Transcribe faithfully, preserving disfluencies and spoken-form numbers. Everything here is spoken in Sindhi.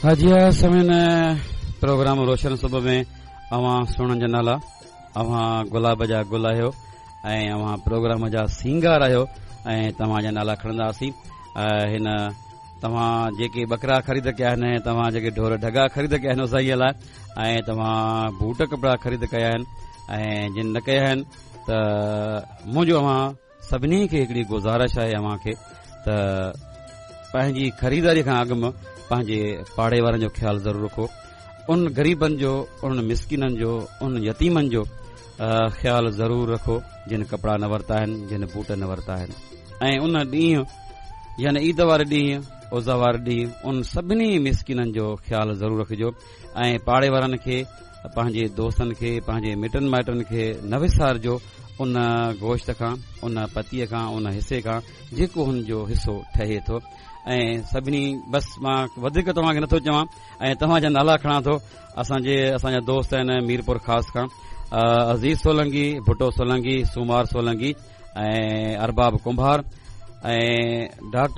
جي ها سامعين، پروگرام روشن صبح ۾ اوهان سهڻن جا نالا، اوهان گلاب جا گل آهيو ۽ اوهان پروگرام جا سينگار آهيو ۽ توهان جا نالا کڻنداسين. هن توهان جيڪي ٻڪرا خريد ڪيا آهن، توهان جيڪي ڍور ڍڳا خريد ڪيا آهن سائينءَ لاءِ، ۽ توهان بوٽ ڪپڙا خريد ڪيا آهن ۽ جن نه ڪيا آهن، ته منهنجو اوهان سڀني کي هڪڙي گذارش آهي اوهان کي ته پنهنجي خريداري کان اڳ ۾ پنهنجي پاڙي وارن جو خيال ضرور رکو، ان غريبن جو، انهن مسڪينن جو، ان يتيمن جو خيال ضرور رکو جن ڪپڙا نه ورتا آهن، جن بوٽ نه ورتا آهن. ۽ ان ڏينهن يعني عيد واري ڏينهن، اضحيٰ واري ڏينهن، ان سڀني مسڪينن جو خيال ضرور رکجو ۽ پاڙي وارن کي، پنهنجي دوستن کي، پنهنجي مٽن مائٽن کي نه وسارجو ان گوشت کان، ان پتيءَ کان، ان حصي کان جيڪو هن جو حصو ٺهي ٿو. ۽ سڀني بس مان وڌيڪ توهان کي نٿو چوان ۽ توهان جا نالا کڻان ٿو. اسان جي اسان جا دوست آهن ميرپور خاص کان، عزيز سولنگي، ڀٽو سولنگي، سومار سولنگي ۽ ارباب ڪنڀار ۽ ڊاڪٽر